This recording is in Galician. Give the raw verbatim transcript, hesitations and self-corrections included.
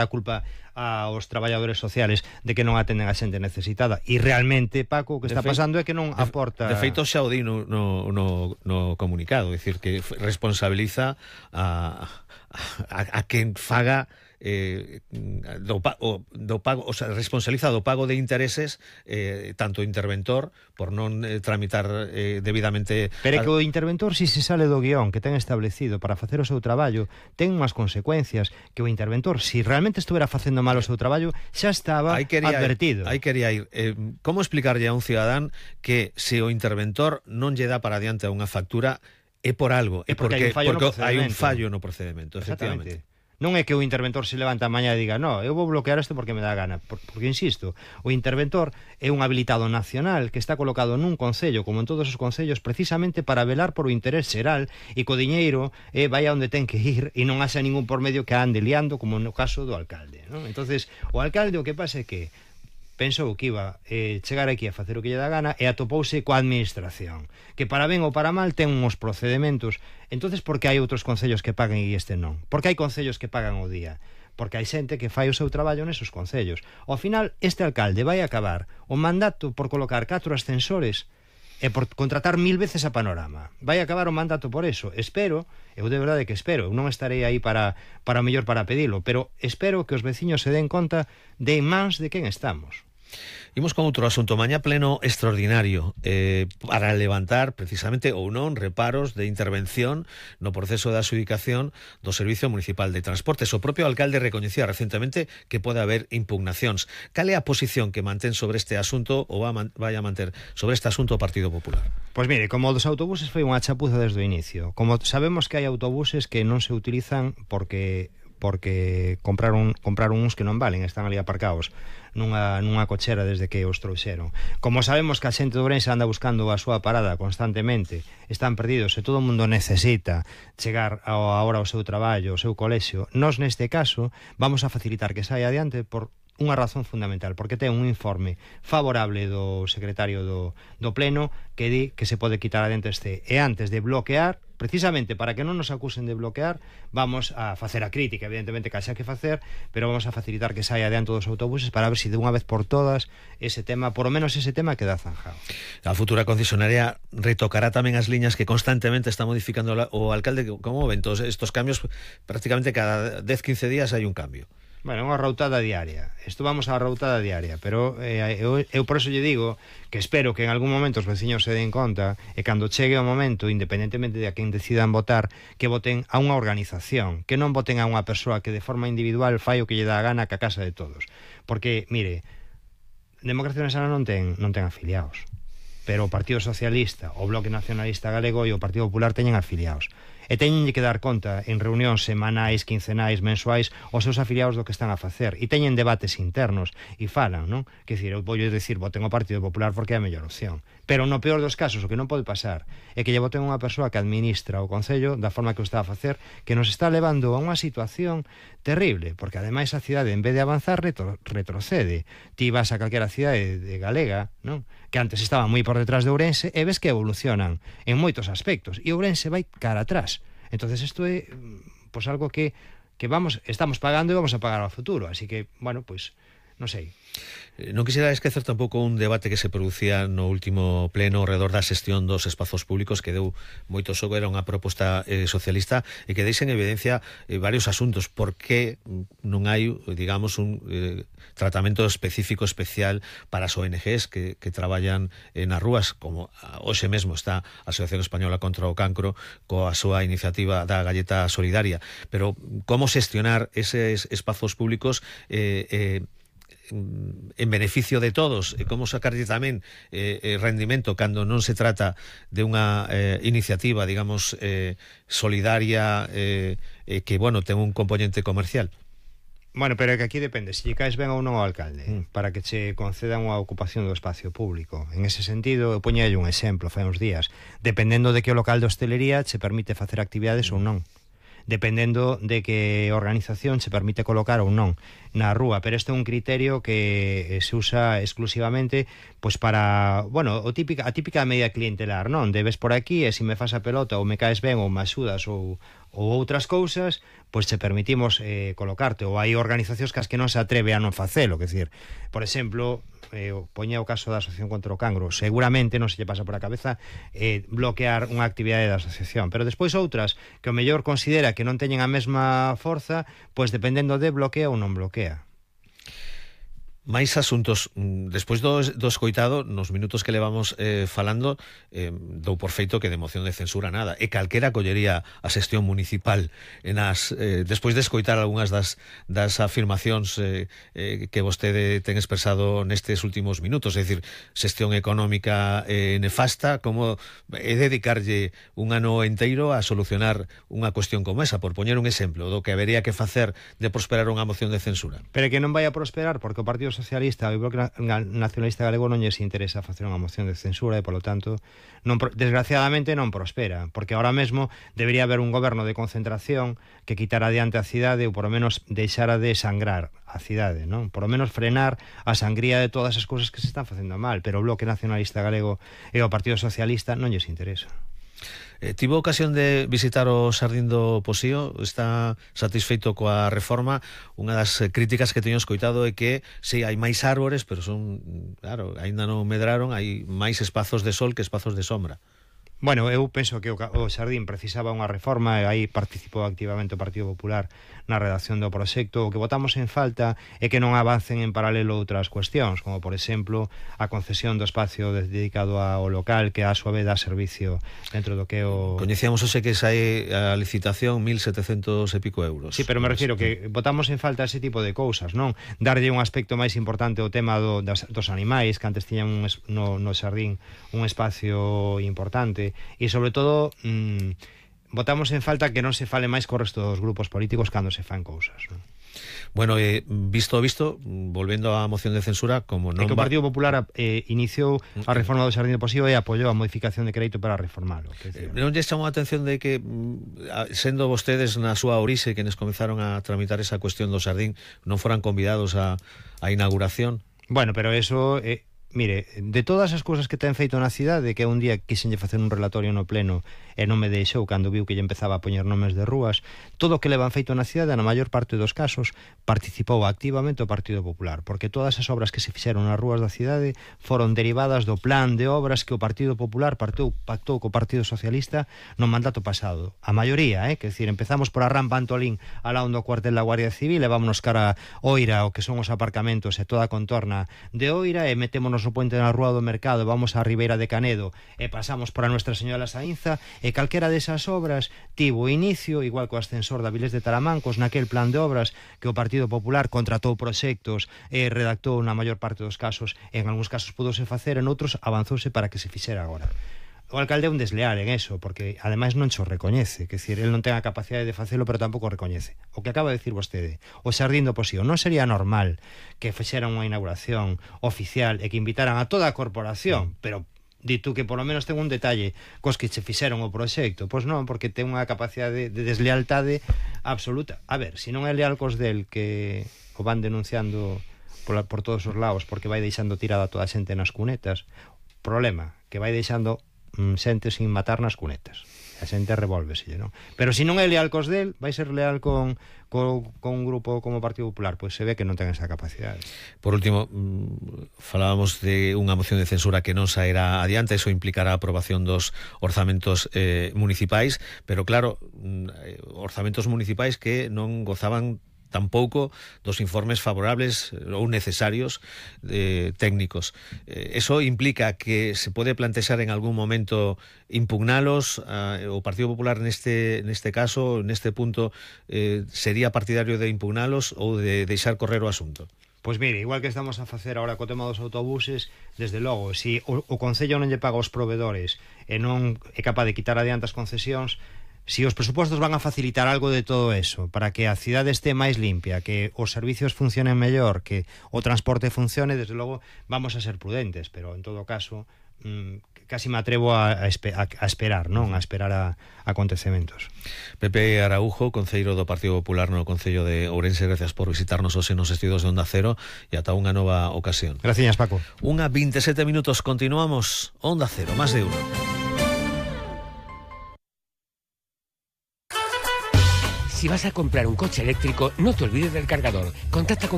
a culpa aos traballadores sociales de que non atenden a xente necesitada, e realmente, Paco, o que está pasando é que non aporta... De feito, xa o di no, no, no, no comunicado, é dicir, que responsabiliza a, a, a quen faga eh, do, o, do pago, o sea, responsabiliza do pago de intereses eh, tanto o interventor por non eh, tramitar eh, debidamente. Pero é que o interventor, si se sale do guión que ten establecido para facer o seu traballo, ten unhas consecuencias que o interventor, si realmente estuvera facendo mal o seu traballo, xa estaba aí quería advertido. Aí quería ir. Eh, como explicarlle a un cidadán que se o interventor non lle dá para adiante a unha factura é por algo, é porque, porque, porque hai un fallo no procedimento, efectivamente. Non é que o interventor se levanta a mañá e diga no, eu vou bloquear isto porque me dá gana, porque, insisto, o interventor é un habilitado nacional que está colocado nun concello, como en todos os concellos, precisamente para velar por o interés xeral e co diñeiro eh, vai a onde ten que ir e non haxa ningún por medio que ande liando, como no caso do alcalde, non? Entonces, o alcalde o que pasa é que pensou que iba eh, chegar aquí a facer o que lle dá gana e atopouse coa administración, que para ben ou para mal ten uns procedimentos. Entonces, por que hai outros concellos que pagan e este non? Por que hai concellos que pagan o día? Porque hai xente que fai o seu traballo nesos concellos. Ao final, este alcalde vai acabar o mandato por colocar catro ascensores e por contratar mil veces a Panorama. Vai acabar o mandato por eso. Espero, eu de verdade que espero, eu non estarei aí para, para o mellor para pedilo, pero espero que os veciños se den conta de mans de quen estamos. Imos con outro asunto. Mañá pleno extraordinario eh, para levantar precisamente ou non reparos de intervención no proceso de adxudicación do Servicio Municipal de Transportes. O propio alcalde recoñecía recentemente que pode haber impugnacións. Cal é a posición que mantén sobre este asunto ou vai a manter sobre este asunto o Partido Popular? Pois mire, como dos autobuses foi unha chapuza desde o inicio. Como sabemos que hai autobuses que non se utilizan porque porque compraron compraron uns que non valen, están ali aparcados nunha, nunha cochera desde que os trouxeron. Como sabemos que a xente de Ourense anda buscando a súa parada constantemente, están perdidos e todo o mundo necesita chegar a hora ao seu traballo, ao seu colexio, nós neste caso vamos a facilitar que saia adiante por unha razón fundamental, porque ten un informe favorable do secretario do, do Pleno que di que se pode quitar adiante este, e antes de bloquear, precisamente para que non nos acusen de bloquear, vamos a facer a crítica, evidentemente que haxa que facer, pero vamos a facilitar que saia adiante dos autobuses para ver se si de unha vez por todas ese tema, por lo menos ese tema, queda zanjado. A futura concesionaria retocará tamén as liñas que constantemente está modificando o alcalde. Como ven todos estos cambios? Prácticamente cada dez a quince días hai un cambio. Bueno, unha routada diaria. Isto vamos á routada diaria, pero eh, eu, eu por eso lle digo que espero que en algún momento os veciños se den conta e cando chegue o momento, independentemente de a quen decidan votar, que voten a unha organización, que non voten a unha persoa que de forma individual fai o que lle dá a gana que a casa de todos. Porque, mire, Democracia Nacional non ten, non ten afiliados, pero o Partido Socialista, o Bloque Nacionalista Galego e o Partido Popular teñen afiliados. E teñen que dar conta en reunións semanais, quincenais, mensuais aos seus afiliados do que están a facer, e teñen debates internos e falan, non? Que dicir, eu vou dicir, voten o Partido Popular porque é a mellor opción, pero no peor dos casos o que non pode pasar é que lle voten unha persoa que administra o Concello da forma que o está a facer, que nos está levando a unha situación terrible, porque ademais a cidade en vez de avanzar retro, retrocede. Ti vas a calquera cidade de galega, non? Que antes estaba moi por detrás de Ourense e ves que evolucionan en moitos aspectos e Ourense vai cara atrás. Entonces isto é pues algo que, que vamos estamos pagando e vamos a pagar ao futuro, así que, bueno, pues non sei. Non quixera esquecer tampouco un debate que se producía no último pleno ao redor da xestión dos espazos públicos, que deu moito xogo, era unha proposta eh, socialista e que deixa en evidencia eh, varios asuntos. Por que non hai, digamos, un eh, tratamento específico especial para as O N Ges que, que traballan eh, nas rúas, como hoxe mesmo está a Asociación Española contra o Cancro coa súa iniciativa da Galleta Solidaria. Pero como xestionar eses espazos públicos eh, eh, en beneficio de todos, e como sacarlle tamén eh, rendimento cando non se trata de unha eh, iniciativa, digamos, eh, solidaria eh, eh, que, bueno, ten un componente comercial. Bueno, pero é que aquí depende se lle caes ben ou non ao alcalde mm. para que che concedan unha ocupación do espacio público. En ese sentido, eu poñei un exemplo fai uns días, dependendo de que o local de hostelería che permite facer actividades mm. ou non, dependendo de que organización se permite colocar ou non na rúa, pero este é un criterio que se usa exclusivamente pois para, bueno, o típica, a típica medida clientelar, non? Debes por aquí e se me fas a pelota ou me caes ben ou me axudas ou, ou outras cousas, pois se permitimos eh, colocarte, ou hai organizacións que as que non se atreve a non facelo, que decir, por exemplo, eh, poña o caso da Asociación contra o Cancro, seguramente non se lle pasa por a cabeza eh, bloquear unha actividade da asociación, pero despois outras que o mellor considera que non teñen a mesma forza, pois dependendo de bloquea ou non bloquea. máis asuntos despois do, do escoitado nos minutos que levamos eh, falando eh, dou por feito que de moción de censura nada e calquera collería a xestión municipal en as, eh, despois de escoitar algunhas das, das afirmacións eh, eh, que vostede ten expresado nestes últimos minutos, é dicir, xestión económica eh, nefasta, como é dedicarlle un ano enteiro a solucionar unha cuestión como esa, por poñer un exemplo do que habería que facer de prosperar unha moción de censura. Pero que non vai a prosperar porque o Partido Socialista e o Bloque Nacionalista Galego non lles interesa facer unha moción de censura e, polo tanto, non, desgraciadamente non prospera, porque ahora mesmo debería haber un goberno de concentración que quitara adiante a cidade ou, por lo menos, deixara de sangrar a cidade, non? Por lo menos frenar a sangría de todas as cousas que se están facendo mal, pero o Bloque Nacionalista Galego e o Partido Socialista non lles interesa. Eh, tivo ocasión de visitar o Xardín do Posío, está satisfeito coa reforma. Unha das críticas que teño escoitado é que si hai máis árbores, pero son, claro, aínda non medraron, hai máis espazos de sol que espazos de sombra. Bueno, eu penso que o, o Xardín precisaba unha reforma e aí participou activamente o Partido Popular na redacción do proxecto. O que votamos en falta é que non avancen en paralelo outras cuestións, como por exemplo a concesión do espacio dedicado ao local, que a súa vez dá servicio dentro do que o... Coñecíamos hoxe que sai a licitación mil setecentos e pico euros. Sí, pero me refiero que votamos en falta ese tipo de cousas, non? Darlle un aspecto máis importante ao tema do, das, dos animais, que antes tiñan un, no, no Xardín un espacio importante. E sobre todo mmm, votamos en falta que non se fale máis co resto dos grupos políticos cando se fan cousas, non? Bueno, eh, visto visto, volvendo á moción de censura, como non... É que o Partido Popular eh, iniciou a reforma do Xardín do Posío e apoiou a modificación de crédito para reformalo. Eh, non lle chamou a atención de que, sendo vostedes na súa orixe quenes comezaron a tramitar esa cuestión do Xardín, non foran convidados a, a inauguración? Bueno, pero eso... Eh, mire, de todas as cousas que ten feito na cidade, que un día quixenlle facer un relatorio no pleno e non me deixou cando viu que lle empezaba a poñer nomes de rúas, todo o que levan feito na cidade, na maior parte dos casos, participou activamente o Partido Popular, porque todas as obras que se fixeron nas rúas da cidade foron derivadas do plan de obras que o Partido Popular partou, pactou co Partido Socialista no mandato pasado. A maioría, eh? Que decir, empezamos por a rampa Antolín alá onde o cuartel da Guardia Civil e vámonos cara a Oira, o que son os aparcamentos e toda a contorna de Oira, e metémonos no puente na Rúa do Mercado, vamos a Ribeira de Canedo e pasamos por a Nuestra Señora Saínza, e calquera desas obras tivo inicio, igual co ascensor da Vilés de Taramancos, naquel plan de obras que o Partido Popular contratou proxectos e redactou na maior parte dos casos, en algúns casos pudose facer, en outros avanzouse para que se fixera agora. O alcalde é un desleal en eso, porque ademais non xo recoñece, que decir, el non ten a capacidade de facelo, pero tampouco recoñece. O que acaba de decir vostede, o Xardín do Posío, non sería normal que fixeran unha inauguración oficial e que invitaran a toda a corporación, pero dito que polo menos ten un detalle cos que se fixeron o proxecto? Pois non, porque ten unha capacidade de deslealtade absoluta. A ver, se non é leal cos del, que o van denunciando por, por todos os lados porque vai deixando tirada toda a xente nas cunetas, problema, que vai deixando xente sin matar nas cunetas, a xente revolvese, non? Pero se non é leal cos del, vai ser leal con, con, con un grupo como o Partido Popular, pois se ve que non ten esa capacidade. Por último, falábamos de unha moción de censura que non sairá adiante, eso implicará a aprobación dos orzamentos eh, municipais, pero claro, orzamentos municipais que non gozaban tampouco dos informes favorables ou necesarios eh, técnicos. Eh, eso implica que se pode plantexar en algún momento impugnalos. Eh, o Partido Popular neste neste caso, neste punto, eh, sería partidario de impugnalos ou de deixar correr o asunto? Pois mire, igual que estamos a facer agora co tema dos autobuses, desde logo, se o, o Concello non lle paga aos provedores e non é capaz de quitar adiante as concesións, si os presupostos van a facilitar algo de todo eso para que a cidade este máis limpia, que os servicios funcionen mellor, que o transporte funcione, desde logo vamos a ser prudentes, pero en todo caso mmm, casi me atrevo a, a, a esperar, non? A esperar a, a acontecementos. Pepe Araujo, concelleiro do Partido Popular no Concello de Ourense, gracias por visitarnos hoxe nos estudios de Onda Cero e ata unha nova ocasión. Gracias, Paco. Unha veintisiete minutos, continuamos. Onda Cero, máis de uno. Si vas a comprar un coche eléctrico, no te olvides del cargador. Contacta con